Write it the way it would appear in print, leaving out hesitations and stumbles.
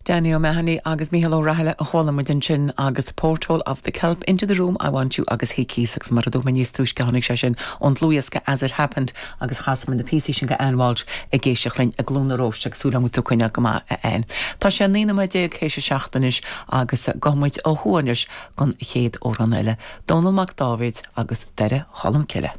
Danny O'Mahony agus Mícheál Ó Rathaille a chuala muid ansin agus Porthole of the Kelp, Into the Room I Want You agus Hickeys agus mar a dúirt mé níos túisce tháinig sé sin ón dlúthdhiosca As It Happened agus chas muid na píosaí sin go Ann Walsh ag éisteacht linn i gCluain na Róiste agus súil agam go bhfuil tú ag coinneáil go maith a Ann. Tá sé 19 nóiméad théis a 7 anois agus gabhfaidh muid ó thuaidh anois don chéad amhrán eile, Dónall Mac Dáibhéid agus Doire Cholm Cille.